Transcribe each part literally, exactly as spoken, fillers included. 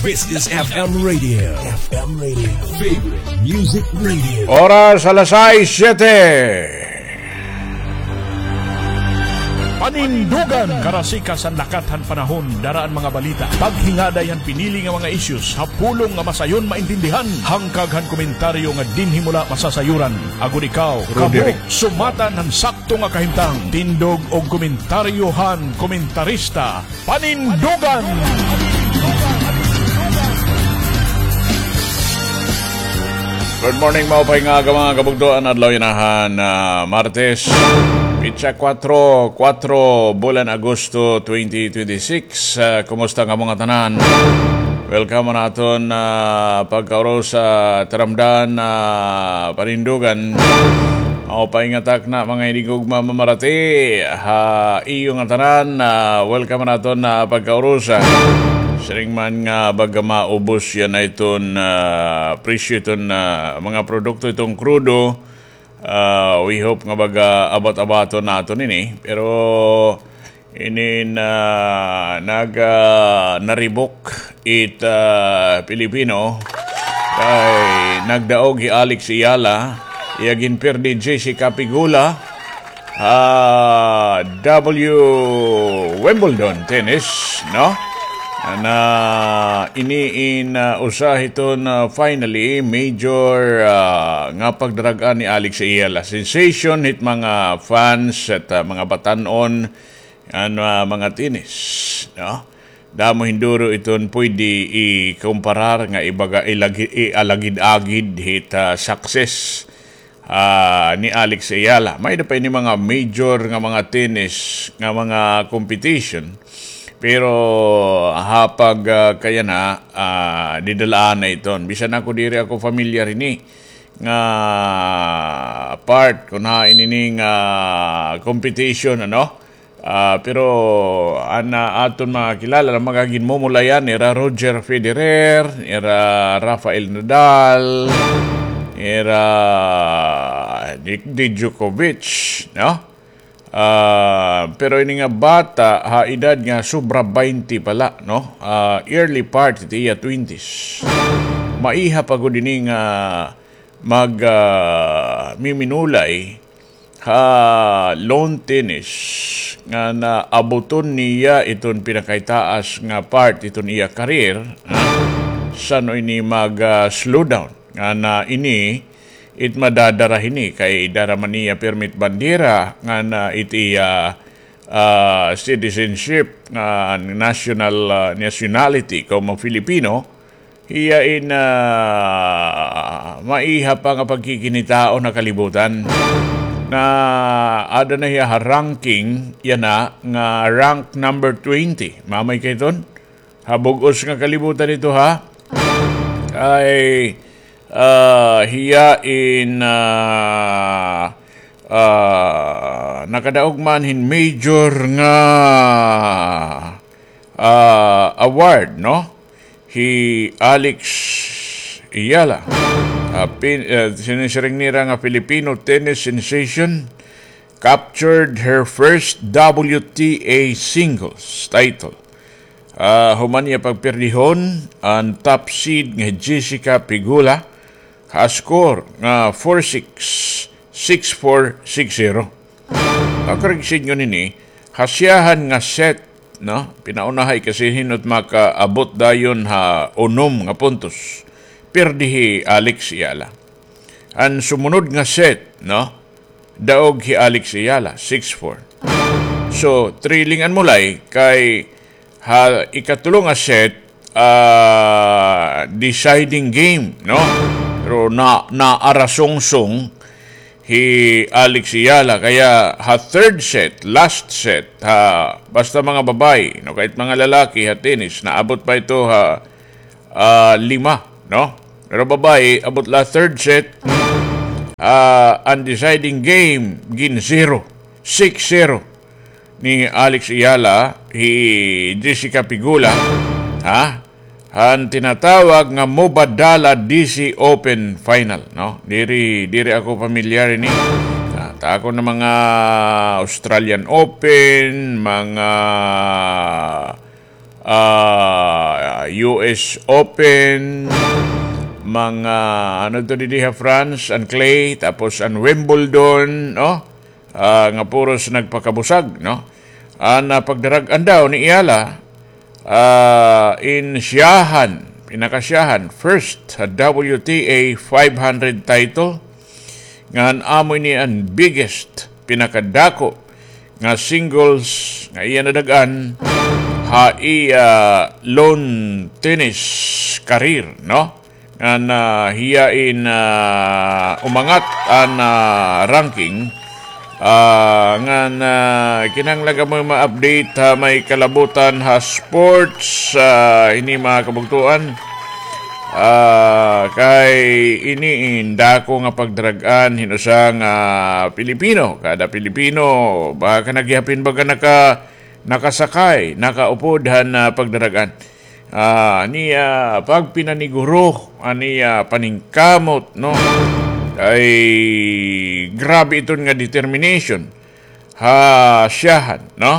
This is F M Radio. F M Radio. Favorite Music Radio. Oras alas sais siyete. Panindugan. Karasikas han lakat han panahon, dara an mga balita. Paghingaday han pinili nga mga issues, ha pulong nga masayon maintindihan. Hangkag han komentaryo nga dinhi mo la masasayuran. Agod ikaw, kamo, sumatan han sakto nga kahimtang. Tindog og komentaryo han komentarista. Panindugan! Good morning, maupay nga aga, mga kabugtoan. Adlaw yana han, ah, Martes, pitsa kwatro, kwatro, bulan Agosto twenty twenty-six. Ah, kumusta kamo ngatanan? Welcome han aton, ah, pagkaurusa, taramdan, ah, Panindugan. Maupay nga takna, mga hinigugma, mamarati ha iyo ngatanan, ah, welcome han aton, ah, pagkaurusa. Siring man nga baga maubos yana iton, ah, presyo iton, ah, mga produkto, iton krudo. Ah, we hope nga baga abat-abaton naton ini. Pero inin, ah, nag, ah, naribok it, ah, Pilipino kay nagdaog hi Alex Eala, iya ginpirdi Jessica Pegula ha W Wimbledon tennis, no? Na ini in, ah, usa hiton, ah, finally major, ah, nga pagdarag-an ni Alex Eala. Sensation hit mga fans at, ah, mga batan-on an, ah, mga tennis, no? Damo hinduro iton pwede ikumparar nga ibaga ilagi-, ialagid-agid hit, ah, success, ah, ni Alex Eala. May-ada pa ini mga major nga mga tennis nga mga competition. Pero ha pag, ah, kayana, ah, didal-an na iton. Bisan ako diri ako familiar hini nga part kun hain ini nga competition, ano? Ah, pero an, ah, aton mga kilala nga mga ginmumulayan, nira Roger Federer, nira Rafael Nadal, nira Nick Djokovic, no? Ah, pero ini nga bata, ha edad nga sobra baynte pa la, no? Ah, early part it iya twenties. Maiha pa gud ini nga mag, ah, miminulay ha lawn tennis nga naabuton niya iton pinakaitaas nga part iton iya career, ha? San-o ini mag, ah, slow down? Nga na ini, it madadara hini kay dara man niya pirmi it bandera nga na it iya, ah, citizenship nga national, ah, nationality komo Filipino. Hiya in, ah, maiha pa nga pagkikinitaon ha kalibutan. Na ada na hiya ha ranking, yana nga rank number twenty. Mamay kay ton? Ha bug-os nga kalibutan ito, ha? Kay, ah, hiya in, ah, ah, nakadaog man hin major nga, ah, award, no? Hi Alex Eala. Ah, pin-, ah, sinisiring nira nga Filipino tennis sensation captured her first W T A singles title. Ah, human niya pagpirdihon an top seed nga Jessica Pegula ha score nga four six, six four, six zero. Pagkorreksyon nini, ha siyahan nga set, no? Pinaunahay kasi hin-o it makaabot dayon ha unom nga puntos. Pirdi hi Alex Eala. An sumunod nga set, no? Daog hi Alex Eala, six four. So, thrilling an mulay kay ha ikatulo nga set, ah, deciding game, no? Pero na, naarasungsong hi Alex Eala. Kaya ha third set, last set, ha, basta mga babaye, no, kahit mga lalaki ha tennis, naabot pa ito ha, ah, lima, no? Pero babaye, abot la third set, ah, an deciding game, gin zero, six zero ni Alex Eala, hi Jessica Pegula, ha? An tinatawag nga Mubadala D C Open Final, no? Diri, diri ako pamilyar ini. Ah, ta ako na mga Australian Open, mga ah, U S Open, mga, ano to didi ha France, an clay, tapos an Wimbledon, no? Ah, nga puros nagpakabusag, no? An, ah, pagdarag-an daw ni Ayala, ah, in siyahan, pinakasiyahan, first, ah, W T A five hundred title, ngan amo ini an biggest, pinakadako nga singles nga iya nadag-an ha iya lawn tennis career, no? Ngan, ah, hiya in, ah, umangat an, ah, ranking, ah, ngan, ah, kinahanglan kamo ma-update ha may kalabutan ha sports, ah, ini mga kabugtoan. Ah, kay ini in dako nga pagdarag-an hin usa nga Pilipino. Kada Pilipino, baka nagyapin baga naka-, nakasakay, nakaupod han, ah, pagdarag-an. Ah, an iya pagpinaniguro, an iya paningkamot, no? Ay, grabe iton nga determination ha siyahan, no?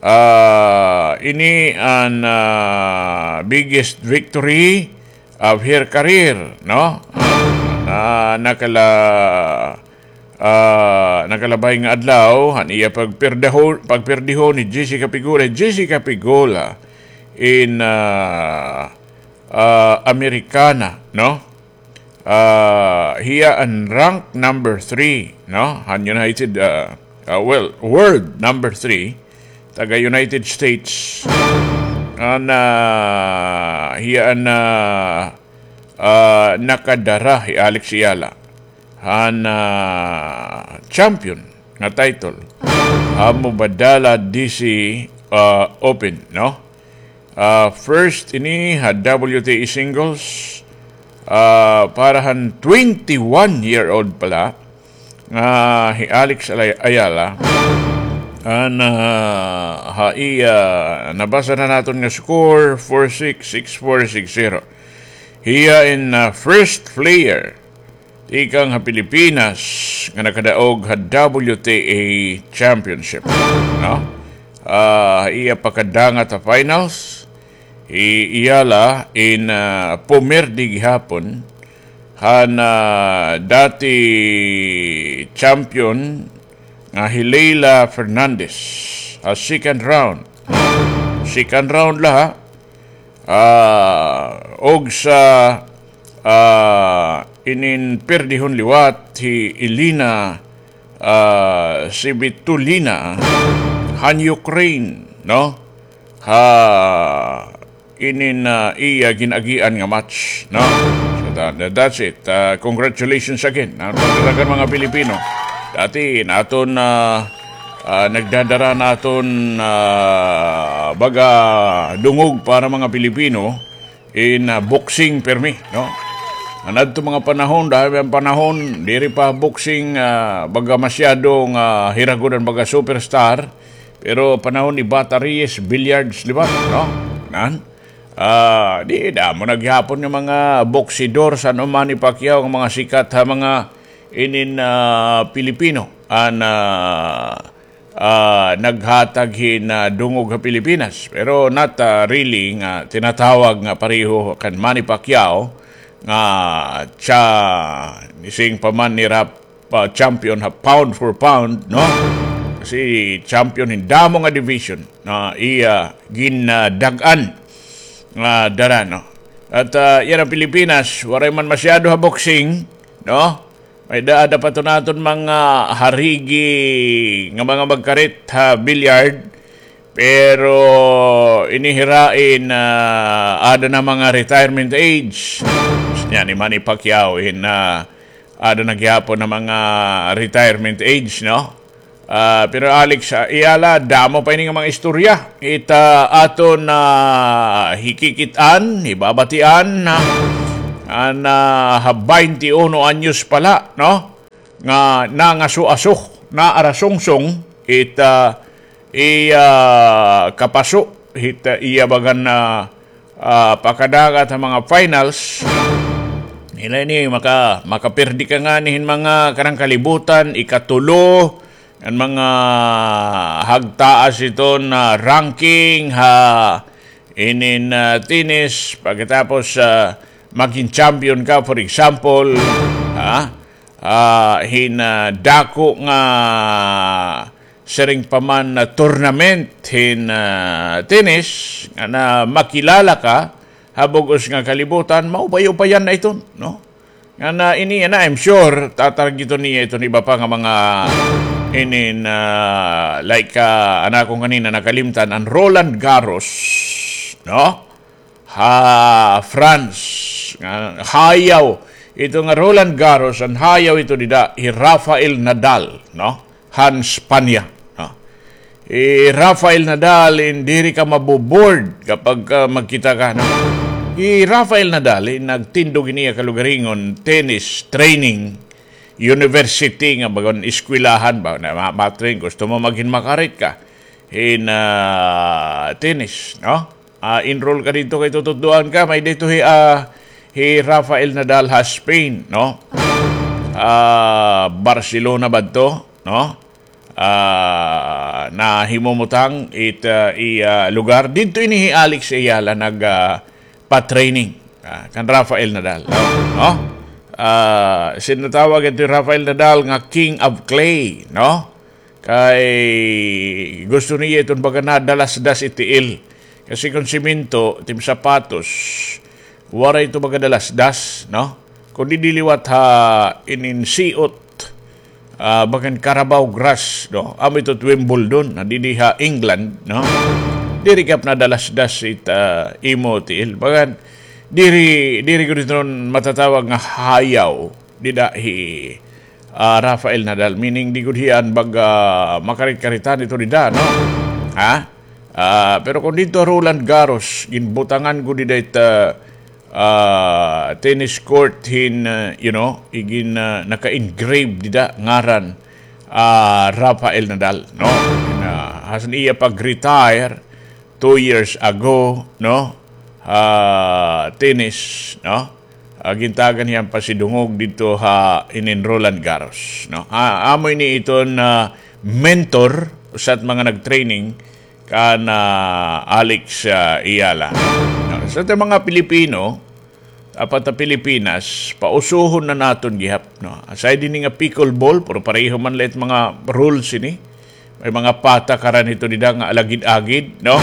Ah, ini an, ah, biggest victory of her career, no? Na nakala-, ah, nakalabay nga adlaw, han iya pagperdahon, pagperdihon ni Jessica Pegula. Jessica Pegula in, ah, ah, Amerikana, no? Ah, hiya an rank number three, no? Han United, ah, ah, well, world number three, taga United States. An, ah, hiya an, ah, ah, nakadara hi Alex Ayala han, ah, champion nga title ha Mubadala D C, ah, Open, no? Ah, first ini ha W T A singles, ah, para han twenty-one-year-old pala nga hi Alex Alay-, Ayala. An, ah, ha iya, nabasa na naton nga score, four six, six four, six zero. Hiya in, ah, first player tikang ha Pilipinas nga nakadaog ha W T A Championship, no? Ah, iya pagkadangat ha finals, hi Ayala in, ah, pumirdi gihapon han, ah, dati champion nga hi Leila Fernandez ha second round. Second round la, ha? Ah, og sa, ah, inin pirdihon liwat hi Elina, ah, Svitolina han Ukraine, no? Ha inin, ah, iya gin-agian nga match, no? So, tha-, tha-, that's it. Ah, congratulations again. An pagdaragan mga Pilipino. Dati, naton, ah, ah, nagdadara naton, ah, baga dungog para mga Pilipino in, ah, boxing permi, no? An adto mga panahon, dahil an panahon, diri pa boxing, ah, baga masyado nga hiragon an baga superstar, pero panahon ni Bata Reyes, billiards liwat, no? Nan? Ah, di, damo na gihapon nga mga boksidor, san-o Manny Pacquiao, nga mga sikat ha mga inin, ah, Pilipino. An, ah, ah, naghatag hin, ah, dungog ha Pilipinas. Pero not, ah, really nga tinatawag nga pareho kan Manny Pacquiao nga siya, nising pa man ni Rap, ah, champion ha pound for pound, no? Kasi champion hin damo nga division na iya ginadag-an nga dara, no? At, ah, yana an Pilipinas, waray man masyado ha boxing, no? May-ada pa iton aton mga harigi nga mga magkarit ha billiard, pero ini hira in, ah, aada na mga retirement age. Niyan ni Manny Pacquiao in, ah, aada na gihapon na mga retirement age, no? Ah, pero Alex, ah, Ayala, damo pa ini nga mga istorya. Ita aton, ah, hikikit-an, hibabatian, ha, an, ah, ha baynte uno anyos pa la, no? Nga nangaso-aso, naarasungsong, ita iya kapaso, ita iya bagan, ah, ah, pakadagat ha mga finals. Nila ini maka-, makapirdi ka ngani hin mga kanang kalibutan, ikatulo, an mga hagtaas iton ranking ha inin, ah, tennis, pagkatapos, ah, magin champion ka, for example, ha? Ah, hin, ah, dako nga siring pa man na tournament hin, ah, tennis, nga na makilala ka ha bug-os nga kalibutan, maupay-upayan na iton, no? Nga na ini, na, I'm sure, tatargiton niya iton iba pa nga mga inin, ah, like, ah, an akon kanina nakalimtan, an Roland Garros, no? Ha France, nga hayaw ito nga Roland Garros, an hayaw ito dida hi Rafael Nadal, no? Han Spanya, no? Hi Rafael Nadal, in diri ka mabobored kapag, ah, magkita ka, no? Hi Rafael Nadal, in nagtindog ini iya kalugaringon tennis training university nga bagan eskwelahan ba na ma-, ma-train, gusto mo magin makarit ka hin, ah, tennis, no? Ah, enroll ka didto kay tututdoan ka, may didto hi, ah, hi Rafael Nadal ha Spain, no? Ah, Barcelona ba adto, no? Ah, nahimumutang it, ah, iya lugar. Didto ini hi Alex Ayala nag, ah, pa-training, ah, kan Rafael Nadal, no? No? Ah, sinatawag ito hi Rafael Nadal nga King of Clay, no? Kay gusto niya iton baga nadalasdas it tiil. Kasi kon semento, tim sapatos, waray ito baga dalasdas, no? Kon didi liwat ha inin siot, ah, bagan Carabao grass, no? Amo ito Wimbledon, na didi ha England, no? Diri gihap nadalasdas it, ah, imo tiil. Bagan, diri, diri gud iton matatawag nga hayaw dida hi, ah, Rafael Nadal. Meaning, di gud hiya an baga makarit-karitan ito dida, no? Ha? Ah, pero kon didto Roland Garros, ginbutangan gud dida it, ah, ah, tennis court hin, ah, you know, igin, ah, naka-engrave dida ngaran, ah, Rafael Nadal, no? Na, has iya pag-retire two years ago, no? Ah, tennis, no? Ah, gintagan hiya pasidungog didto ha inin Roland Garros, no? Ah, amo ini iton, ah, mentor usa it mga nag-training kan, ah, Alex, ah, Ayala. No, sa aton mga Pilipino, apan ta Pilipinas, pausuhon na naton gihap, no? Aside ini nga pickleball, pero pareho man la it mga rules ini. May mga patakaran ito dida nga alagid-agid, no?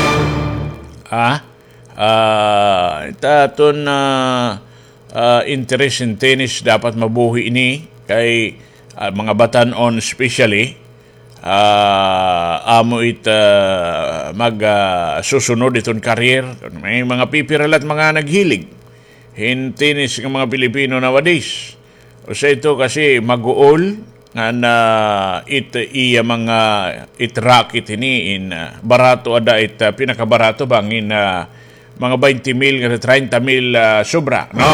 Ah, ah, it aton, ah, ah, interest in tennis dapat mabuhi ini kay, ah, mga batan-on especially, ah, amo it, ah, mag, ah, susunod iton career. May mga pipira la it mga naghilig hin tennis nga mga Pilipino nowadays. Usa ito kasi maguol nga na it iya mga it racket ini in, ah, barato ada it, ah, pinakabarato bangin, ah, mga baynte mil nga treinta mil, ah, sobra, no?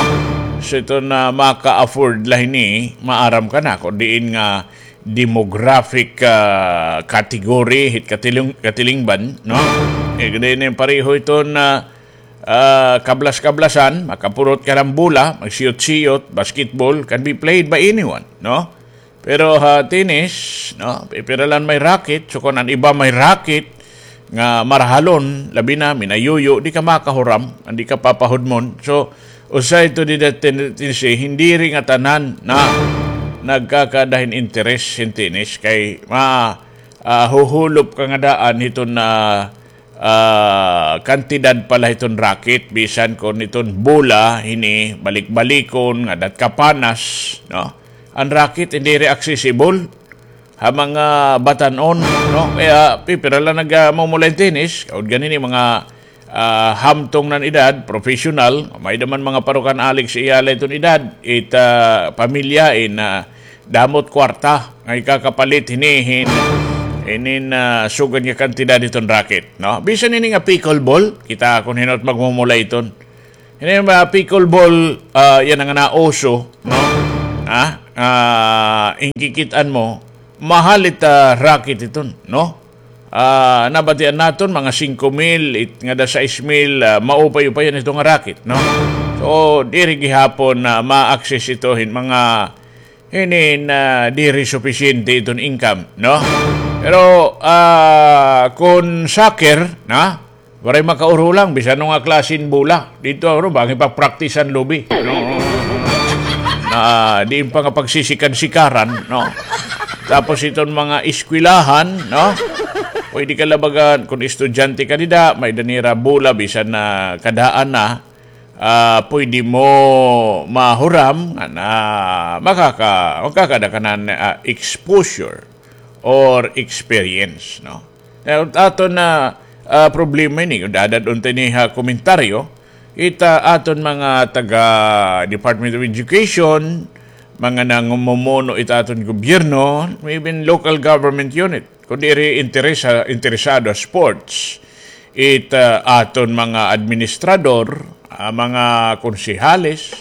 So ito na maka-afford la hini, maaram ka na kung diin nga demographic, ah, category hit katiling-, katilingban, no? Eh, diin pareho iton, ah, ah, kablas-kablasan, makapurot ka hin bola, magsiyot-siyot, basketball, can be played by anyone, no? Pero ha tennis, no, pipira la an may racket, so kon an iba may racket nga marahalon, labi na, minayuyo, di ka makahuram, an di ka papahudmon. So, usa ito dida ten-, tennis, eh, hindi rin nga tanan na nagkakada hin interes hin tennis kay ma-, ah, huhulop ka nga daan hiton, ah, ah, kantidad pa la hiton racket, bisan kon iton bola, hini, balik-balikon, nga dat kapanas, no? An racket, hindi rin accessible ha mga batan-on, no? Kaya, pipira la nag, ah, mumulay tennis, kaud ganini, mga, ah, hamtong nan edad, professional, may daman mga parukan Alex Ayala iton edad, it, ah, pamilya, in, ah, damo it kwarta nga ikakapalit hini hin, inin, ah, sugad nga kantidad hiton racket, no? Bisan ini nga pickleball, kita kon hin-o it magmumulay iton. Ini nga pickleball, ah, yana nga nauso, no? Ha? Ah, in kikit-an mo, mahal it, ah, racket iton, no? Ah, nabatian naton mga singko mil, it, ngada sais mil, ah, maupay-upayan ito nga racket, no? So, diri gihapon na ma-access ito hin mga hinin, ah, diri supisyente iton income, no? Pero, ah, kon soccer, na, Waray makaurulang, bisan ano nga klase hin bola. Didto, ano, bangin pa-practice-an lubi. No? Na, diin pa nga pagsisikan-sikaran, no? Tapos iton mga eskwelahan, no? Pwede ka la baga, kon estudyante ka dida, may-ada nira bola, bisan na kadaan na, ah, pwede mo mahuram nga na makaka-, makakada ka na, ah, exposure or experience, no? Now, aton na, ah, problema ini, dad-add-on ta ini ha komentaryo, it aton mga taga Department of Education, mga namumuno it aton gobyerno, even local government unit, kon diri interesa-, interesado ha sports, it, ah, aton mga administrador, ah, mga konsehales,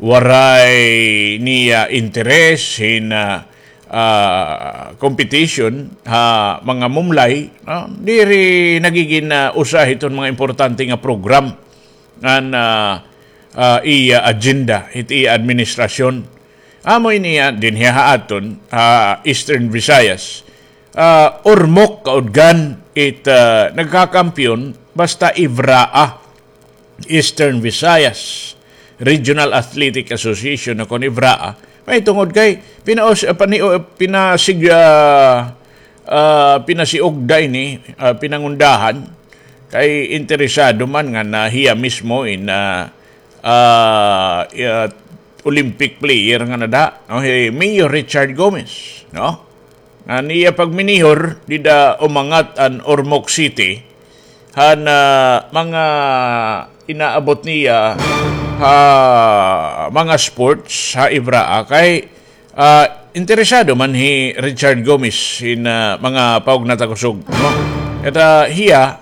waray niya interes hin, ah, ah, competition ha mga mumlay, no? Diri nagigin, ah, usa hiton mga importante nga program ngan, ah, ah, iya agenda, hit iya administrasyon. Amo ini, ah, dinhi ha aton, ha Eastern Visayas. Ah, Ormoc kaudgan it, ah, nagkakampiyon basta IVRAA. Eastern Visayas Regional Athletic Association, o kon IVRAA. Mahitungod kay pinaus-, ah, pani-, ah, pinasig-, ah, ah, pinasiugda ini, ah, pinangundahan kay interesado man nga na hiya mismo in, ah, ah, ah, Olympic player nga nada, no, hi Mayor Richard Gomez, no? An iya pagminihor dida umangat an Ormoc City han, ah, mga inaabot niya ha mga sports ha IVRAA kay, ah, interesado man hi Richard Gomez hin, ah, mga paugna ta kusog, no? Kay ta hiya,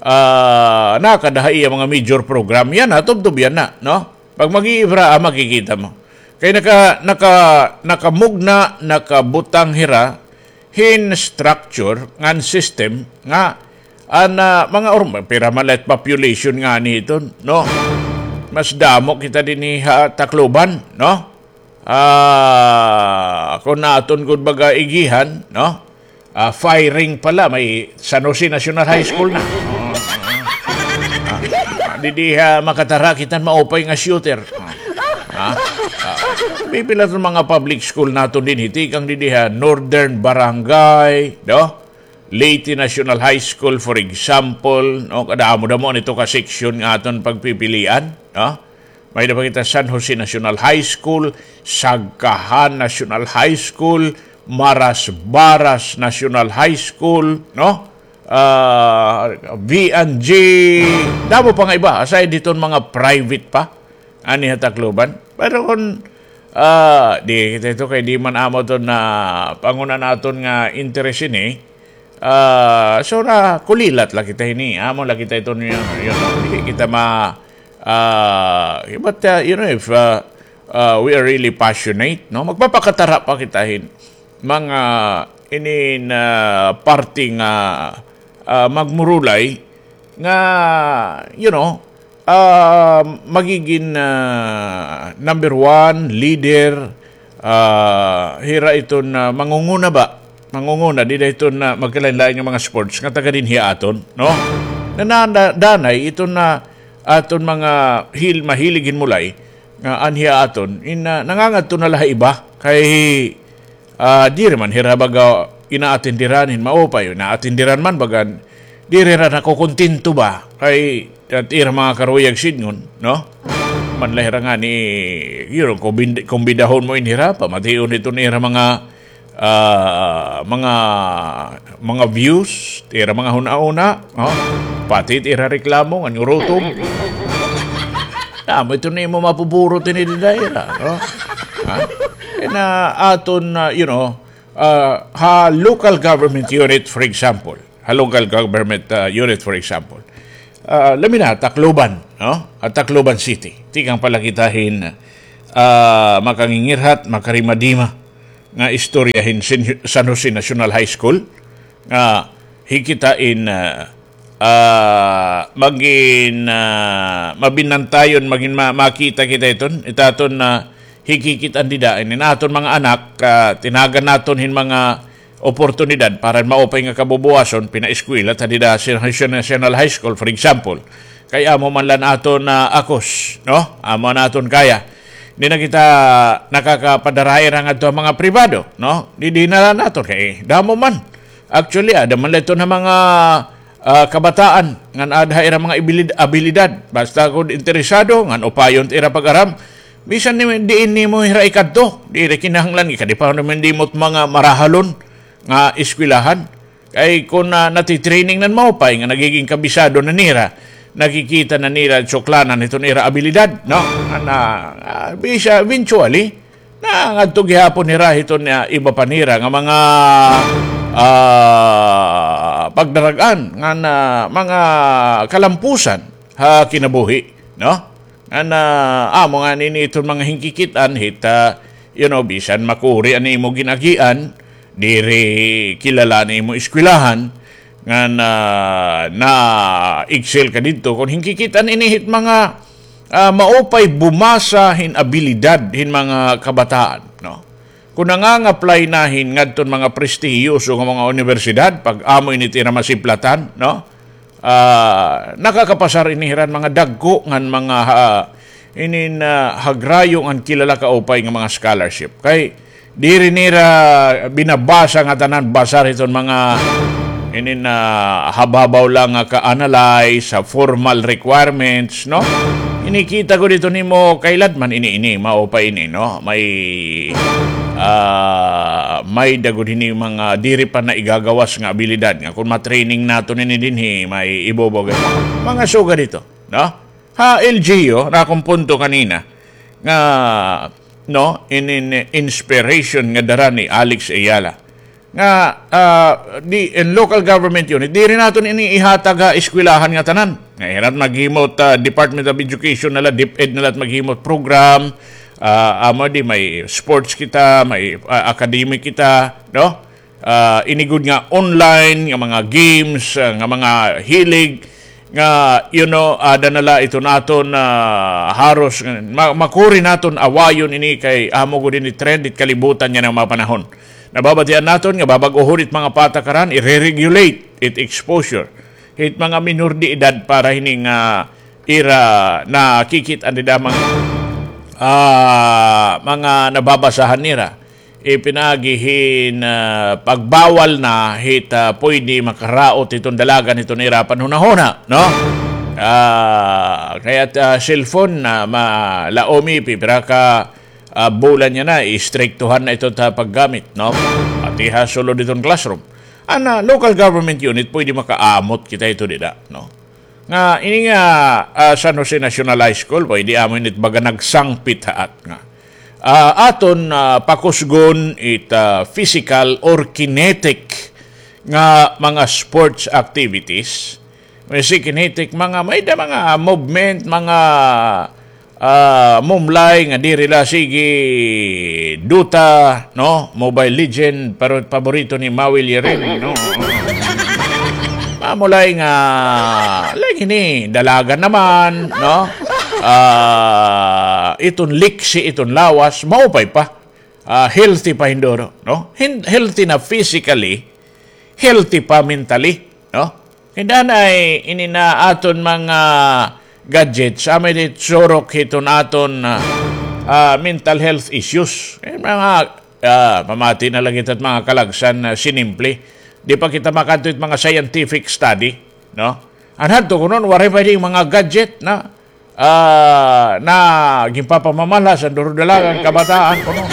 ah, nakada ha iya mga major program. Yana, tubtob yana, no? Pag mag-iIVRAA, makikita mo. Kay naka-, naka-, nakamugna, nakabutang hira hin structure ngan system nga an, ah, mga urm-, pira man la it population ngani hiton, no? Mas damo kita dinhi ha Tacloban, no? Ah, kon aton gud baga igihan, no? Ah, firing pa la, may San Jose National High School na. Ah, didi ha Makatara, kita hin maupay nga shooter. Ah, ah, pipila iton mga public school naton dinhi, tikang didi ha Northern Barangay, no? Leyte National High School, for example, no? Kadamo-damo nito ka section nga aton pagpipilian, no? May-ada pa kita San Jose National High School, Sagkahan National High School, Marasbaras National High School, no? Ah, V and G, damo pa nga iba, aside hiton mga private pa, ani ha Tacloban. Pero kon, ah, di kita ito kay di man amo iton na panguna naton nga interes ini, ah, so, nakulilat la kita hini. Amo la kita iton, you know, you know, di kita ma-, ah, but, ah, you know, if, ah, ah, we are really passionate, no? Magpapakatara pa kita hin mga inin, ah, parte nga, ah, magmurulay nga, you know, ah, magigin, ah, number one, leader, ah, hira iton, ah, mangunguna ba? Mangunguna, dida iton, ah, magkalain-lain nga mga sports nga taga dinhi aton, no? Na, na, na, danay iton, ah, aton mga hil-, mahilig hin mulay nga anhi aton, in, ah, nangangadto na la ha iba. Kay, ah, diri man hira baga inaatenderan hin maupay, inaatenderan man baga, diri hira nakukontento ba? Kay, it ira mga karuyag sidngon, no? Man la hira ngani, you know, kumbid-, kumbidahon mo in hira, pamation hiton ira mga, ah, mga, mga views, it ira mga hunahuna, no? Pati it ira reklamo, ngan urutom. Damo iton imo mapuburot ini dida ira, no? Ha? Kay na aton, ah, you know, ah, ha local government unit, for example, ha local government, ah, unit, for example, ah, labi na, Tacloban, no? Ha Tacloban City. Tikang pa la kita hin, ah, makangingirhat, makarimadima nga istorya hin Sin-, San Jose National High School, nga hi kita in, ah, ah, magin, ah, mabinantayon, magin ma-, makita kita iton, it aton, ah, hikikit-an dida, inin aton mga anak, ah, tinagan naton hin mga, oportunidad para maupay nga kabubuwason pinaeskwela ta dida sa National High School, for example. Kay amo man la an aton, ah, akos, no? Amo an aton kaya. Di na kita nakakapadara hira ngadto ha mga pribado, no? Di, di na la naton kay damo man. Actually, ada man la ito nga mga, ah, kabataan ngan ada ha ira mga ibilid-, abilidad. Basta kon interesado, ngan upayon it ira pag-aram, bisan ni, diin nimo hira ikadto, diri kinahanglan, ikadi pa naman di mo't mga marahalon nga eskwelahan. Kay kon, ah, natitraining nan maupay nga nagiging kabisado na nira, nakikita na nira suklanan hiton ira abilidad, no? Ana, ah, bisa eventually, na ngadto gihapon hira hiton, ah, iba pa nira nga mga, ah, pagdarag-an nga na mga kalampusan ha kinabuhi, no? Ngan amo ngani ini iton mga hinkikit-an hit, ah, you know, bisan makuri an imo gin-agian, diri kilala an imo eskwelahan, ngan, ah, na-excel ka didto, kon hinkikit-an ini hit mga, ah, maupay bumasa hin abilidad hin mga kabataan, no? Kon nangangaply na hin ngadton mga prestihiyoso nga mga unibersidad, pag amo ini it ira masiplatan, no? Ah, nakakapasar ini hira han mga dagko ngan mga, ah, inin, ah, hagrayo ngan kilala kaupay nga mga scholarship. Kay diri nira binabasa ngatanan, basar hiton mga inin, ah, habhabaw la nga ka-analyze ha formal requirements, no? Ini kita gud ito nimo kay ladman ini, ini, maupay ini, no? May, ah, may-ada gud hini mga diri pa naigagawas nga abilidad nga kon ma-training naton ini dinhi, may ibubugay. Mga sugad ito, no? Ha L G U, na akon punto kanina, nga, no, in, in, inspiration nga dara ni Alex Ayala. Nga, ah, di, in local government unit, diri naton ini ihatag ha eskwelahan ngatanan. Nga hira it maghimot, ah, Department of Education na la, DepEd na la it maghimot program, ah, amo di may sports kita, may, ah, academic kita, no? Ah, ini gud nga online nga mga games, ah, nga mga hilig, nga, you know, ada na la iton aton, ah, haros nga ma-, makuri naton awayon ini kay amo gud ini trend it kalibutan yana nga mga panahon. Nababatian naton nga babag-ohon it mga patakaran, ire-regulate it exposure hit mga minor de edad para hini nga ira nakikit-an dida mga, ah, mga nababasahan nira. Ipinaagi hin, ah, pagbawal na hit, ah, pwede makaraot hiton dalagan hiton ira panhunahuna, no? Ah, kay it, ah, cellphone na malaomi, pipira ka, ah, bulan yana, istriktuhan na ito ta paggamit, no? Pati ha sulod hiton classroom. An, ah, local government unit, pwede makaamot kita ito dida, no? Nga, ini nga, ah, San Jose National High School, pwede amo ini it baga nagsangpit haat nga ah, aton, ah, pakusgon it, ah, physical or kinetic nga mga sports activities. May si kinetic, mga, may-ada mga movement, mga, ah, mumlay nga diri la sige Dota, no? Mobile Legend, pero paborito ni Maui Liring, no? Mamulay nga, like ini, dalagan naman, no? Ah, iton liksi, iton lawas, maupay pa. Ah, healthy pa hin duro, no? Hin-, healthy na physically, healthy pa mentally, no? Kay danay ini na aton mga gadgets, amay di surok hiton aton, ah, ah, mental health issues. Eh, mga, ah, pamati na la kita hit mga kalagsan na sinimple. Di pa kita makadto hit mga scientific study, no? An hadto kuno, waray pa ini mga gadget na, ah, na ginpapamamalhasan duro dalagan, kabataan kuno.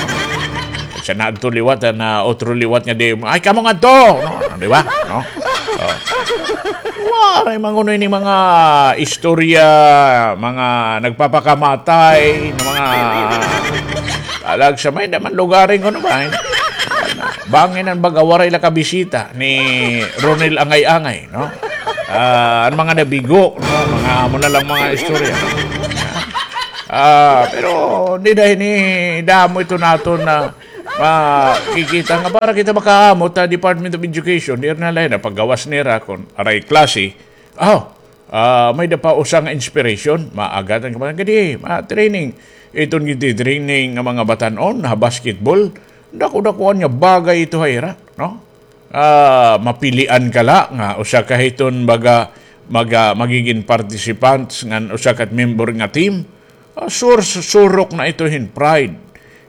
Sa naadto liwat, ah, na otro liwat nga di, ay, kamo ngadto, no? Di ba? No? Oh. Waray man kuno ini mga istorya, mga nagpapakamatay, na mga Talag sa may naman lugaring kuno ba, eh? Bangin an baga waray la kabisita ni Ronel Angay-angay, no? Ah, an mga nabigo, no? Mga amo na lang mga istorya. Ah, pero dida ini damo ito naton na makikita nga para kita makaamot ha Department of Education, diri na la ini paggawas nira kon aray klase. Aw, ah, may-ada pa usa nga inspiration, maagad an kabataan kadi, ma-training. Iton giti-training nga mga batan-on ha basketball, dako-dakoan nga bagay ito ha ira, no? ah, mapilian ka la nga usa ka hiton baga, maga, magigin participants ngan usa ka member nga team, ah, sur-, surok na ito hin pride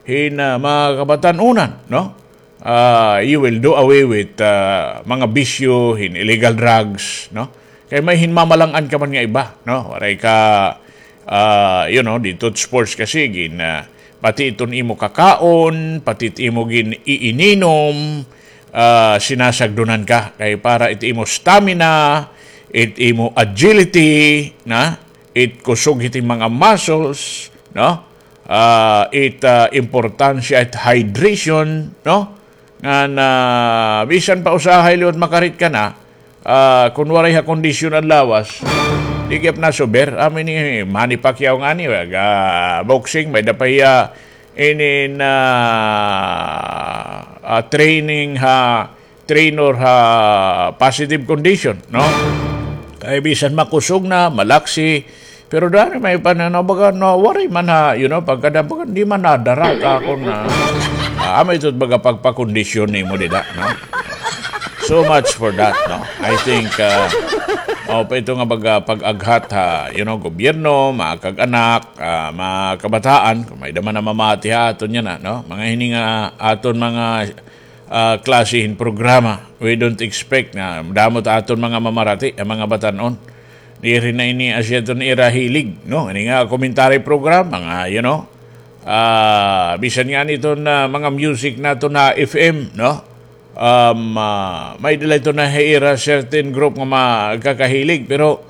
hin, ah, mga kabatan-onan, no? Ah, you will do away with, ah, mga bisyo hin illegal drugs, no? Kay may hin mamalang-an ka man nga iba, no? Waray ka, ah, you know, dito sports kasi gin, ah, pati iton imo kakaon, pati it imo gin-iininom, ah, sinasagdunan ka. Kay para it imo stamina, it imo agility, na? It kusog hit mga muscles, no? Ah, it, ah, importansya, it hydration, no? Ngan, ah, bisan pa usahay liwat makarit ka na, ah, kun waray ha kondisyon an lawas, di gihap nasuber. Amo ini Manny Pacquiao ngani, ah, boxing, may-ada pa hiya inin, ah, ah, training ha, trainer ha positive condition, no? Kay bisan makusog na, malaksi, pero dani may pananaw, baga, no, waray man ha, you know, pagkada, baga, di man nadara ka akon, ah, amo ito, baga, pagpakondisyon nimo dida, no? So much for that, no? I think, ah, mao pa ito nga baga pag-aghat ha, you know, gobyerno, mga kag-anak, ah, mga kabataan, kun may-ada man namamati ha aton yana, no? Mga hini nga aton mga, ah, klase hin programa. We don't expect nga damo ta aton mga mamarati, an mga batan-on. Diri na ini asya iton ira hilig, no? Ini nga commentary program, mga, you know, ah, bisan ngani iton, ah, mga music naton ha F M, no? Um, ah, may-ada la iton ha ira certain group nga magkakahilig, pero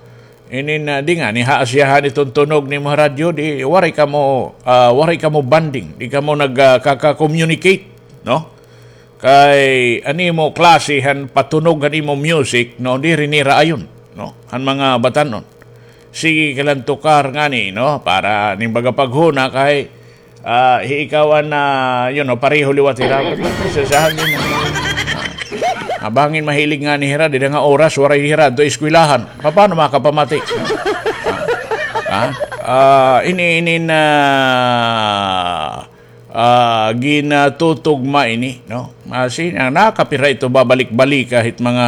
inin, ah, di ngani ha asyahan iton tunog nimo ha radyo, di waray kamo, ah, waray kamo bonding, di kamo nag, ah, kaka-communicate, no? Kay an imo klase han patunog han imo music, no, diri nira ayon, no, han mga batan-on. Sige ka lang tukar ngani, no, para nin baga paghuna kay, ah, hi ikaw an, ah, you know, pareho liwat hira. Sa, sa hangin. Ah, bangin mahilig ngani hira, dida nga oras, waray hira adto eskwelahan. Paano makapamati? Ah, ah, ini, ini na, ah, ginatutugma ini, no? Masi, na, nakapira ito babalik-balik kahit mga,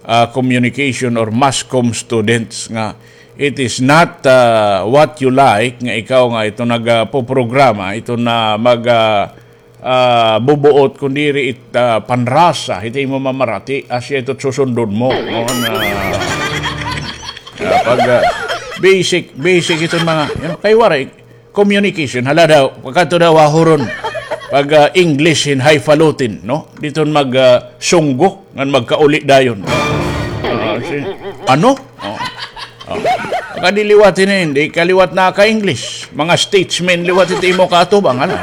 ah, communication or mass comm students nga it is not, ah, what you like nga ikaw nga ito nagpoprograma, ito na mag, ah, ah, bubuot, kundiri it, ah, panrasa, ito imo mamarati, asya ito susundon mo. No? Na, ah, pag, ah, basic, basic iton mga, you know, kay waray, communication, hala daw, pagkadto daw ha huron. Pag, ah, English hin highfalutin, no? Diton mag, ah, sunggo, ngan magkauli dayon. Ah, si-, ano? Oh. Oh. Pagka di liwat ini, hindi ka liwat naka-English. Mga statesmen liwat ito imo kaatubang, ano?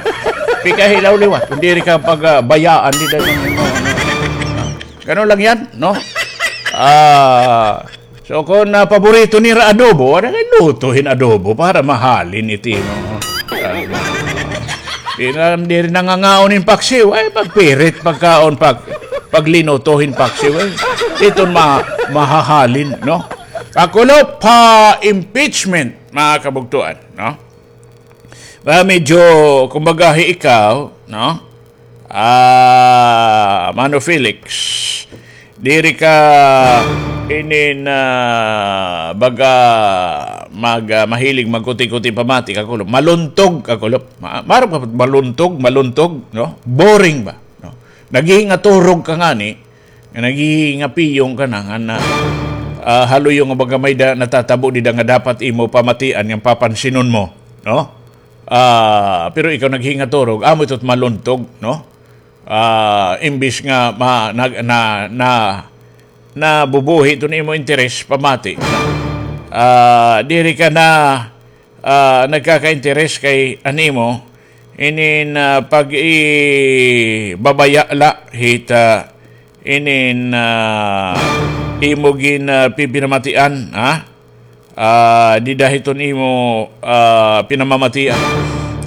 Pikahilaw liwat. Kundiri ka pag, ah, bayaan, di dayon imo, ano? Ganun lang yan, no? Ah, So, kon, ah, paborito nira adobo, ada kay luto hin adobo para mahalin iti, no? Ah, di na, diri nangangaon hin paksiw, ay, pagpirit, pagkaon, pag, paglinuto hin paksiw, ay, iton ma-, mahahalin, no? Kakulop ha impeachment, mga kabugtuan, no? Ba, medyo, kumbaga, hi ikaw, no? Ah, Mano Felix, diri ka inin, ah, baga mag, ah, mahilig magkuti-kuti pamati, kakulop. Maluntog, kakulop. Ma-, marap ka, maluntog, maluntog, no? Boring ba, no? Naghihingaturog ka ngani, nga naghihingapiyong ka na, nga na, ah, haluyo nga baga may da, natatabo dida nga dapat imo pamatian nga papansinon mo, no? Ah, pero ikaw naghingaturog, amo ito't maluntog, no? Ah, imbis nga ma-, na, na, na, nabubuhi iton imo interes, pamati. Ah, diri ka na, ah, nagkaka-interes kay an imo, inin, ah, pag-ibabaya la hit, ah, inin, ah, imo gin, ah, pipinamatian, ha? Ah, dida hiton imo, ah, pinamamatian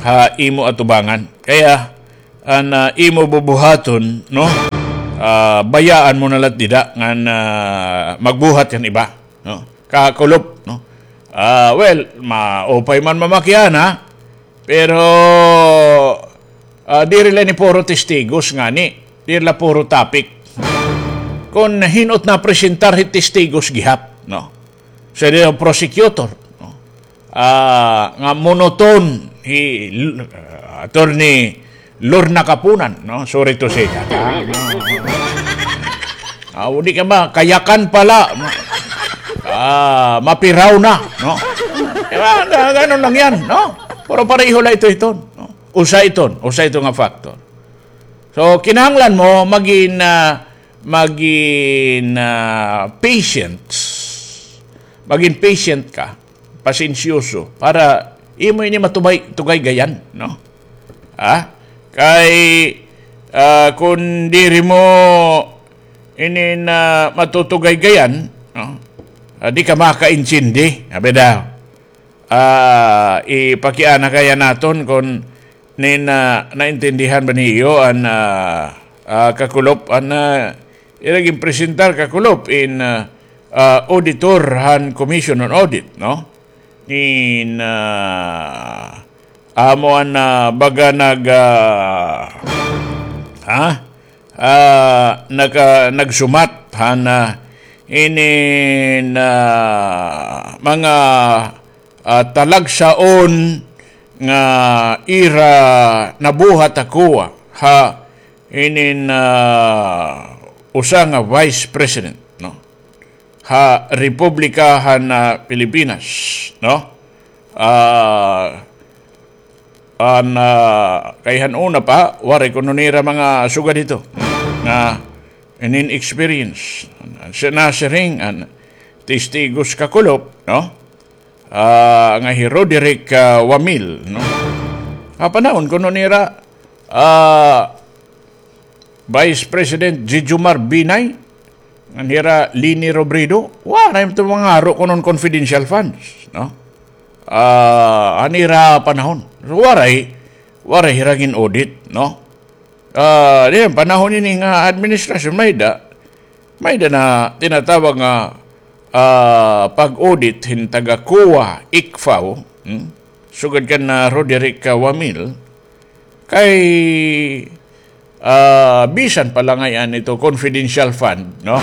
ha imo atubangan. Kaya, an, ah, imo bubuhaton, no? Ah, bayaan mo na lat dida ngan, ah, magbuhat kan iba, no? Kakulop, no? Ah, well, maupay man mamakiana, pero, ah, diri la ini puro testigos ngani. Diri la puro topic. kon hin-o it napresentar hit testigos gihap, no? Sa prosecutor, no? Ah, nga monoton hi L-, ah, Attorney Lorna Kapunan, no? Sorry to say that. Ah, no, no, no. Ah, di ka ba, kayakan pala. Ma-, ah, mapiraw na, no? Di ba? Ga-, ganun lang yan, no? Pero pareho la ito, ito, no? Usa iton, usa ito nga factor. So, kinahanglan mo magin, ah, magin, ah, patient. Magin patient ka, pasensyoso, para imo ini matubay, tugaygayan, no? Ha? Kay, ah, kun diri mo ini na matutugaygayan, no? Ah, di ka makaintindi, abi daw. Ah, ipakiana kaya naton kon nin, ah, naintindihan ba niyo an, ah, ah, kakulop, an, ah, ira ginpresentar kakulop in, ah, ah, auditor han Commission on Audit, no? Nin, ah, amo an, ah, baga nag, ah, ha? Ah, naka-, nagsumat han, ah, inin, ah, mga ah, talagsaon nga ira nabuhat ako ha inin, ah, usa nga vice president, no? Ha Republika han, ah, Pilipinas, no? Ah, an, ah, kay han una pa, waray kuno nira mga sugad hito nga inin experience. Siya nasiring an testigos kakulop, no? Ah, nga hi Roderick, ah, Wamil, no? Ha panahon kuno nira, ah, Vice President Jijomar Binay, ngan hira Leni Robredo, waray man ito mangaro kuno hin confidential funds, no? Ah, han ira panahon. So, waray, waray hira gin-audit, no? Ah, diyan, panahon ini nga administrasyon, may-ada, may-ada na tinatawag nga, ah, pag-audit hin taga-COA, ICFAO, hmm? Sugad kan, ah, Roderick, ah, Wamil, kay, ah, bisan pa la ngay-an ito confidential fund, no?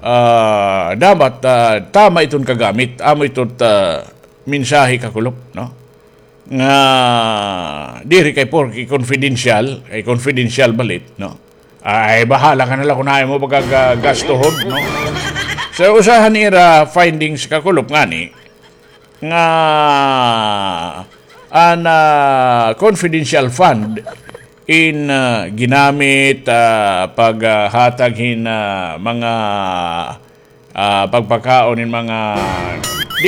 Ah, dapat, ah, tama iton kagamit, amo ito, ah, mensahe kakulop, no? Nga diri kay porke confidential, kay confidential balit, no? Ay, bahala ka na la kun hain mo pagkagastohon, no? So, usa han ira findings kakulop ngani, nga an, ah, confidential fund in, ah, ginamit, ah, paghatag hin, ah, mga, ah, pagpakaon hin mga, di,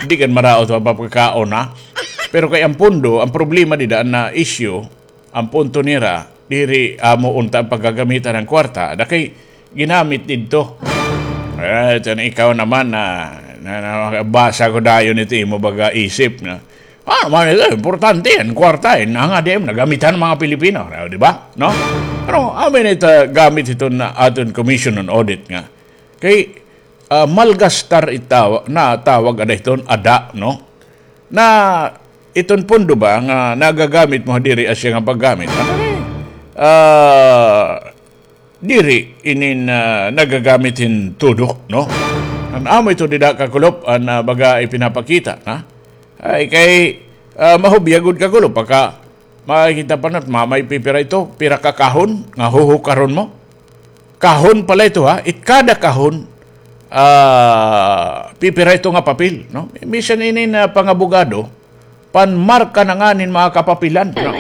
di kan maraot an pagpakaon, ha? Pero kay an pondo, an problema dida na issue, an punto nira, diri amo unta an paggagamitan han kwarta, ada kay ginamit didto. Eh, ito na ikaw naman na, na, na, basa ko dayon ito imo baga isip na. Ah, man, ito, importante an kwarta, eh. Nangadi, nagamitan an mga Pilipino, di ba? No? Pero, amin ito, gamit ito na aton Commission on Audit nga. Kay, ah, malgastar itaw-, na tawag ada iton ada, no? Na iton pondo ba nga nagagamit mo diri asya nga paggamit? Ano ni? Ah, diri inin, ah, nagagamit hin tudo, no? An amo ito dida kakulop, an, ah, baga ipinapakita, ha? Ay, kay, ah, mahubya gud kakulop, pagka makikita pa nat, ma-, may pipira ito, pira ka kahon, nga huhukaron mo. Kahon pala ito, ha? It kada kahon, ah, pipira ito nga papel, no? Bisan ini na pangabogado, panmarka na ngani hin mga kapapilan, no?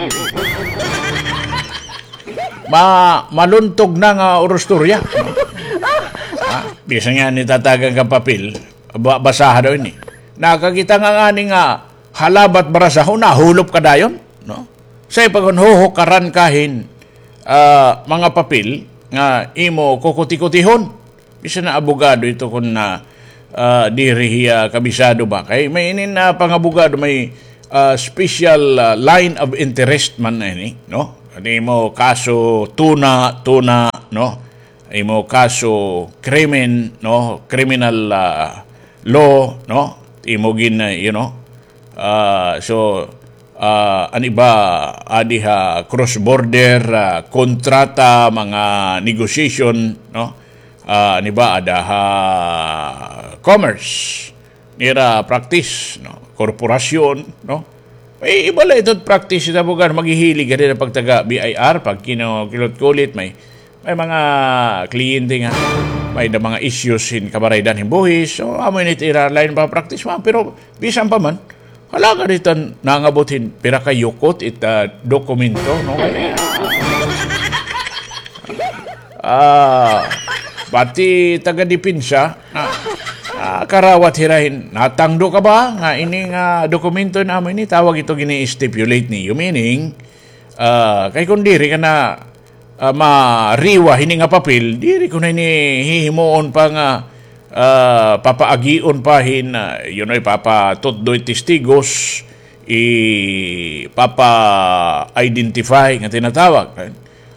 Ma-, maluntog na nga urustorya, no? Ha? Bisan nga nitatagan ka papel, ba-, basaha daw ini. Nakakita nga ngani nga halabat barasahon, nahulop ka dayon, no? Say pa kon huhukaran ka hin, ah, mga papel nga imo kukutikutihon. Bisan na abogado ito kon na, ah, diri hiya kabisado ba. Kay may inin na pangabogado, may, ah, special, ah, line of interest man na ini, no? An imo kaso tuna, tuna, no? Imo kaso krimen, no? Criminal, ah, law, no? Imo gin, ah, you know, ah, so, ah, an iba, adi ha cross-border, ah, kontrata, mga negotiation, no? ah, nibaada ha commerce. Nira practice, no? Korporasyon, no? May iba la ito practice ita bugan, maghihilig ka din pagtaga B I R, pag kino-, kilot-kulit, may, may mga kliyente nga, may da mga issues hin kabaraydan hin buhis. So, amo ini it ira lain pa practice, ma, pero bisan pa man, hala ka ditan nangabot hin pira ka yukot it, ah, dokumento, no? Kay, ah, pati taga-depensa, ah, ah, karawat hira hin, natangdo ka ba nga ini nga dokumento nga amo ini, tawag ito gini-stipulate niyo. Meaning, ah, kay kon diri ka na, ah, mariwa hini nga papel, diri ko na ini hihimuon pa nga, ah, papaagion pa hin, ah, you know, ipapatutdo it testigos, ipapa-identify nga tinatawag, eh.